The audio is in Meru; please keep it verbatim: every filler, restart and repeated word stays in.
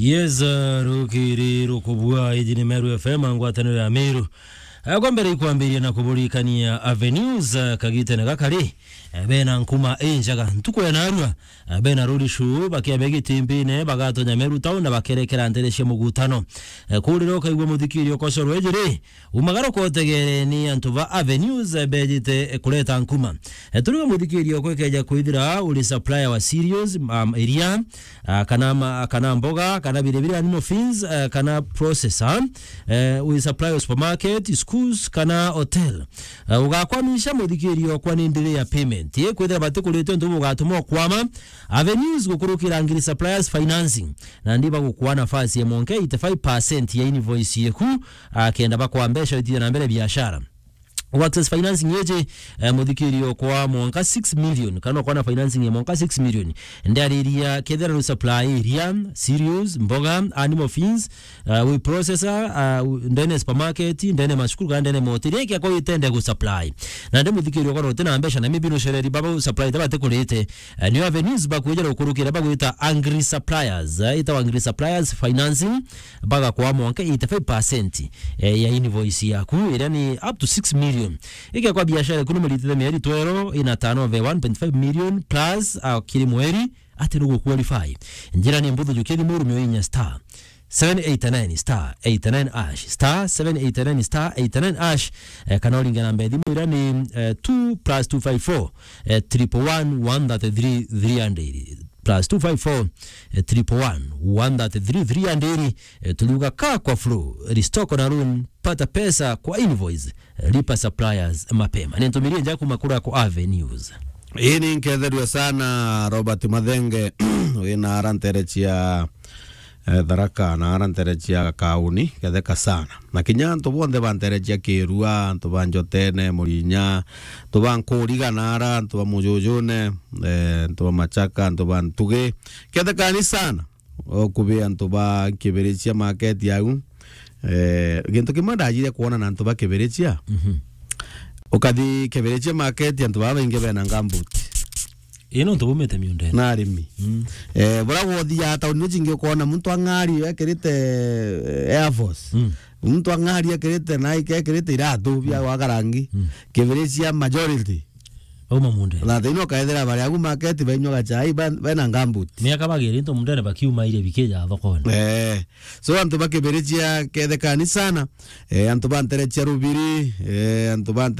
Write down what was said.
Yes, uh, rukiri rukubua, iji ni Meru F M, ngwataniro ya Meru. Eh, kwa mbere ikwambiria na kuburikania Avenues, eh, kagitene gakari, eh, bena nkuma injaga. Ntuku ya narua, eh, bena road show, bakiambia Gitimbine, bagatonya Meru town na bakerekera ntere cia mugutano. Eh, kurira ukaigua muthikiri ukocorwe ijiri, umagaruka utegere ni antu ba Avenues, eh, bejite, eh, kureta nkuma. Eh, turiga muthikiri okwe keja kwithira uri supplier wa cereals, um, iria, ah, kana ma-, kana mboga, kana biri biri animal feeds, eh, kana processor, eh, wi supply o supermarket, schools, kana hotel. Eh, ugakwamisha muthikiri okwa ni ndiri ya payment. Ye kwithira batikurite untu bugatuma ukwama, Avenues gukurukira ngiri suppliers financing. Na ndi bagukwa nafasi ya monke eighty-five percent ya invoice yeku, ah, kenda bakwa mbeca itithia na mbere biashara. Access financing yeje, eh, muthikiri okwa mwanka six million, kana okwa na financing ya mwanka six million. Ndiariria kethira ru supply iria, cereals, mboga, animal feeds, uh, wi processor, uh, ndene supermarket, ndene macukuru, kana ndene mahoteli, eke kwa itende gu supply. Na ndi muthikiri okwa rote na mbeca, na maybe no shereri baba gu supply taba te kurite. Eh, ni Avenues bakwejera ukurukira bagwita Angry Suppliers, eh, ita Angry Suppliers financing, bagakwa mwanka eighty-five percent, eh, ya invoice yaku, iria ni up to six million. Igekwa biashara iku numiritite mieri twero ina turnover one point five million plus, ah, kiri mweri, ati nugu qualify. Njira ni mbuthu, jukia thimu urumio inya star seven eight nine star eight nine hash, star seven eight nine star eight nine hash, eh, kana uringe namba ya thimu iria ni, eh, two plus two five four, eh, triple one one thirty-three three hundred. Plus two five four, eh, triple one one thirty-three three hundred, eh, tuliuga ka kwa flow, restore na run, pata pesa kwa invoice, lipa suppliers mapema. Ni ntumirie nja kuma kura kwa Avenues. Ii ni nketherua sana Robert Mathenge, wina ara ntere cia, eh, Tharaka na ara ntere cia Kauni, ketheka sana. Na kinya antu bonthe ba ntere cia Kirua, antu ba Njotene, Murinya, antu ba Nkuriga na ara, antu ba Mujujune, eh, antu ba Machaka, antu ba Ntugi. Kethekani sana. Okubi antu ba Kibirichia market au. Eh, gintu kimwe ndajire kwona na antu ba Kibirichia. Mhm. Ukathi Kibirichia market, antu baba baingi bena gumboot. Ii, nontu bumite miundene. Na arimi. Mm. Eh, bura gwothia tauni ino cingi ukona muntu ang'ari ekirite, eh, Air Force. Mm. Muntu ang'ari ekirite Nike, ekirite iratu bia gwaka rangi. Mm. Kibirichia majority. Bauma mundene. Na thina ukaethira bari agu market bainywa gachai, ba-, bena gumboot. Miaka bagiri into mundene bakiuma iria bikija thokone. Eh. So antu ba Kibirichia kethekani sana. Eh, antu ba ntere cia Rubiri, eh, antu ba ntere